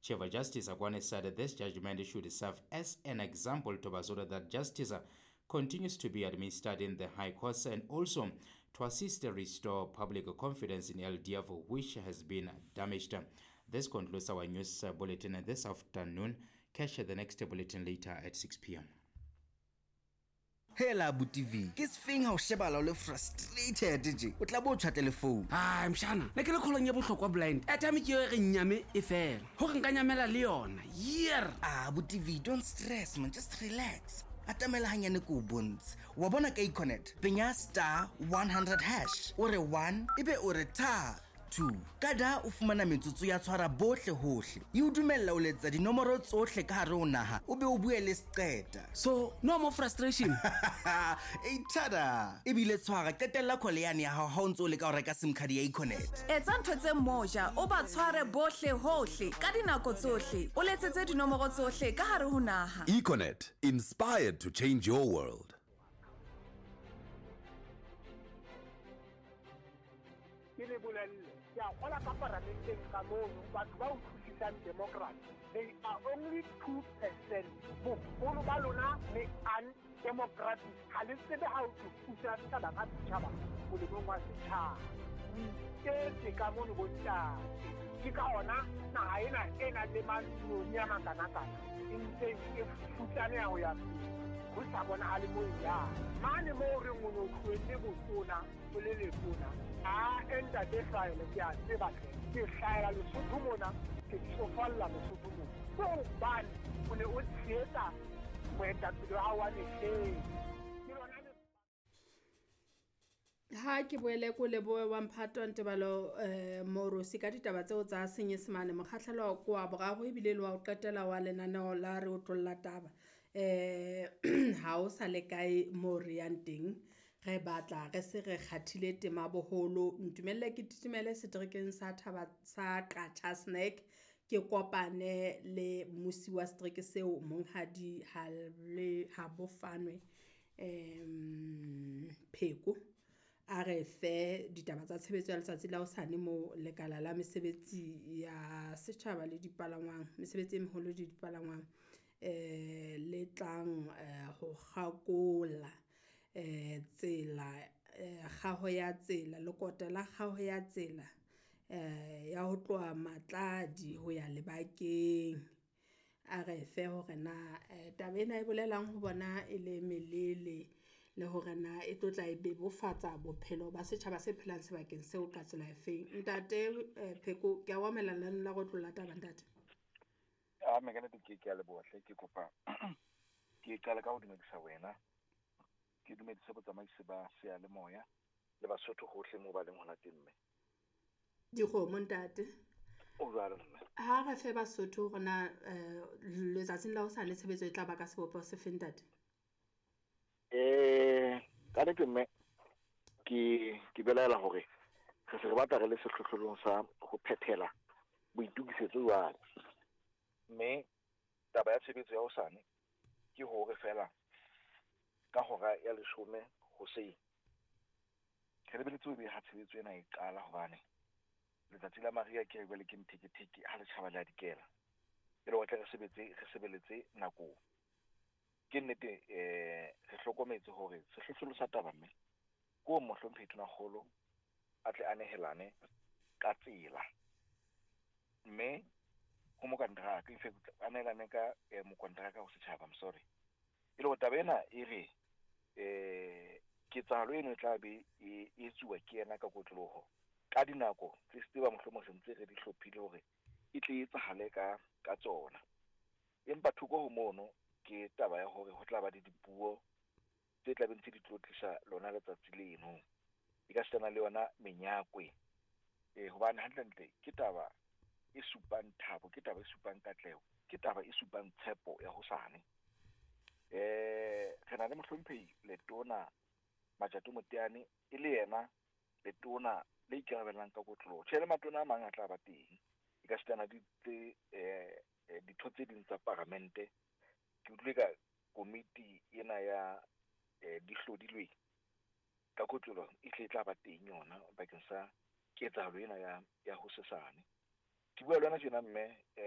Chief Justice Akwane said this judgment should serve as an example to Basotho that justice continues to be administered in the High Courts and also to assist restore public confidence in LDF, which has been damaged. This concludes our news bulletin this afternoon. Catch the next bulletin later at 6 p.m. Hela abuti V, ke sefeng ha o shebala o le frustrated tje? O tla bo o tjhwatle le phone. Hai mshana, ne ke le kgolong ya bohlokwa blind. Airtime ke eo e re nyame e fela. Hore nka nyamela le yona. Year. Ah, abuti V, don't stress man, just relax. Atamela hanyane ko o bontshe. Wa bona ka Econet, penya star 100 hash. O re 1, ebe o re tha 2. Ka da o fumana metsotso ya tshwara bohle hohle. E o dumella o letsa dinomoro tsohle ka hare ho naha, o be o bue le seqeta. So, no more frustration. E tada. Ebile tshwara qetella call yane ya hao ha o ntso o leka ho reka sim card ya Econet. Etsa ntho tse moja, o ba tshware bohle hohle ka dinako tsohle. O letsetse dinomoro tsohle ka hare ho naha. Econet, inspired to change your world. Ke le bolelle, ke a kgola ka paramenteng ka mono, batho ba utlwisisang democracy, they are only 2%. Boholo ba lona le undemocratic, ha le tsebe ha o thusa setjhaba ka setjhaba molemong wa setjhaba. O iketse ka mono bontate. Ke ka hona naha ena e nang le mantsione a makanakana e ntseng e futsaneha ho ya pele, ho sa bonahale moo e yang. Mane moo re o no tlohelle botona, o le letona, a ntate Hlahele, ke a tseba hle. Ke hlahela Lesotho mona, ke tsofalla Lesotho mona. Ke hobane o ne o tshehetsa moetapele wa hao wa mehleng. Ke lona le Ha ke boele ko lebohe wa Mphato Ntebalo Morosi ka ditaba tseo tsa Senyesemane. Mokgahlelo ko wa boraro ebile le wa ho qetela wa lenaneo la re otlolla taba. Ha o sa le kae moo re yang teng, re batla re se re kgathile tema boholo. Ntumelle ke titimele seterekeng sa Thaba sa Qacha Snack, ke kopane le mmusi wa setereke seo Monghadi Habofanwe Pheko. A re fe ditaba tsa tshebetso ya letsatsi la hosane mo lekala la mesebetsi ya setjhaba le dipalangwang, mesebetsi e meholo le dipalangwang, le tlang ho kgakola tsela, kgaho ya tsela, lekota la kgaho ya tsela ya ho tloha Matladi ho ya Lebakeng. A re fe hore na taba ena e bolelang ho bona e le melele le hore na e tlo tla e bebofatsa bophelo ba setjhaba se phelang sebakeng seo ka tsela efeng. Ntate Pheko, ke a o amohela lenaneo la go tlola taba ntate. A me ka nnete ke a leboha hle, ke kopa ke qale ka ho dumedisa wena, ke dumedise botsamaisi ba seyalemoya le Basotho hohle moo ba leng hona teng mme. Dikgomo ntate. O jwalo mme. Ha re fe Basotho hore na letsatsing la hosane tshebetso e tla ba ka sebopeho se feng ntate? Ka nnete mme, ke belaela hore re se re batla re le sehlohlolong sa ho phethela boitokisetso jwale. Mme taba ya tshebetso ya hosane ke hore fela ka hora ya 10 hoseng re lebeletse ho beha tshebetso ena e qala, hobane letsatsi la mariha ke jwale ke mtheketheke ha letjhaba le a dikela. E le hore tle re sebetse, re sebeletse nakong. Ke nnete, re hlokometse hore sehlohlolo sa taba mme ko mohlomphehi Tonakgolo a tle a nehelane ka tsela, mme ho mokonteraka, in fact a nehelane ka mokonteraka ho setjhaba, I'm sorry. E le hore taba ena e re ketsahalo eno e tla be e etsuwa ke yena ka kotloloho ka dinako tse tseba mohlomong se ntse re di hlophile hore e tle e etsahale ka tsona. Empa thoko ho mono ke taba ya hore ho tla ba le dipuo tse tla beng tse di tlotlisa lona letsatsi leno, e ka sitana le yona menyakwe, hobane hantlentle ke taba e supang thabo, ke taba e supang katleho, ke taba e supang tshepo ya hosane. Re na le mohlomphehi Letona Majato Moteane e le yena letona le ikarabellang ka kotloloho. Tjhe, le matona a mang a tla ba teng, e ka sitana di tse ditho tse ding tsa paramente. Ke utlwile ka komiti ena ya di hlodilweng ka kotloloho e tle e tla ba teng yona bakeng sa ketsahalo ena ya hosesane. Ke bua le wena tjena mme,